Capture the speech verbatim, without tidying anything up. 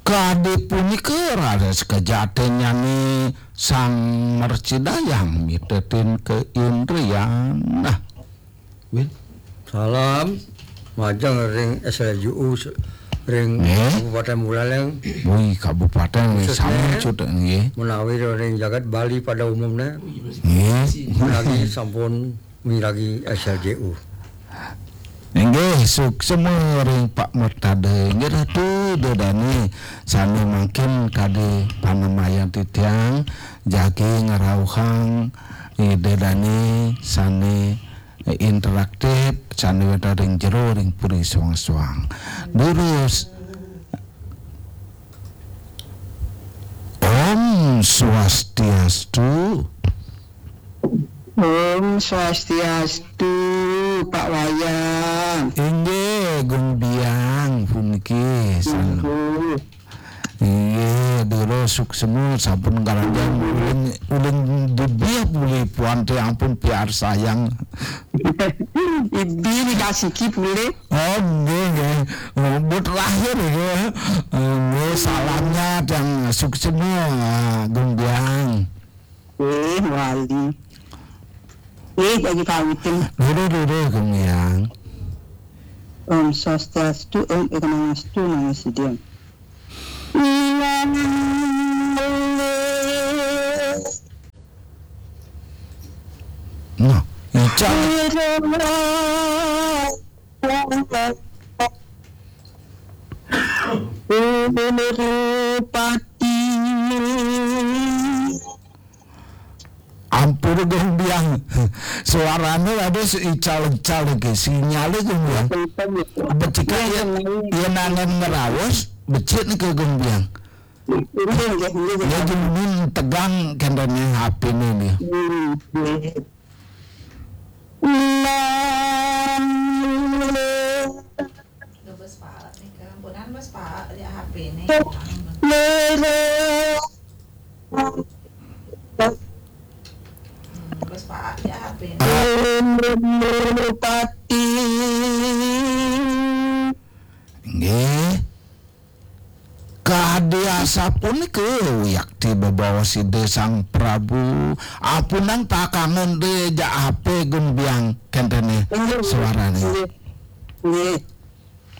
Kadi punika raris kajatennyané Sang Mercidayang mitetin ka Indrian. Nah, Win. Salam majeng ring S L J U ring Nggih. Kabupaten Buleleng. Wih, kabupaten wis Khususnya sami cut nggih. Menawi ring jagat Bali pada umumnya. Nggih. Lagi sampun miragi S L J U. Inggih, suksma ring Pak Mertada. Inggih Ratu, Ida Dane sane mangkin kadi panamayan titiang jagi ngrauhang Ida Dane sane interaktif sane wenten ring jero ring puri soang-soang. Durus. Om Swastiastu. Om Swastiastu, Pak Wayan. Inggih, Gung Biang puniki san-, Inggih. Inggih, dura suksma sampun karanjang uling, uling dibih buli puante ampun piarsayang. Ibi dikasiki pulih. Oh, nggih, nggih. Oh, but lahir nggih. Oh, nggih, salamnya dan suksma, Gung Biang. Eh, wali. Eh, lagi kawitin. Dulu, dulu, Gung Biang. Om Swastiastu, Om Ekanastu, Namo Siddham. Nah, ical. Pati. Ampun, Gung Biang. Suarane rada ical-ical iki. Sinyale, Gung Biang. Becik yen, yen angin ngrawus, becik niki, Gung Biang. Nggih, nggih, nggih. Ya, Gung Biang tegang kendene H P-ne nih. Hmm, nggih. Nah. Bes Pak, nih, ampunan Bes Pak, ya H P-ne. Hmm, Bes Pak, ya H P-ne. Pati. Nggih. Kadi asapunika wiakti bebaos Ida Sang Prabu. Apunang takangen de jak H P Gung Biang kentene suarane. Nggih. Nggih.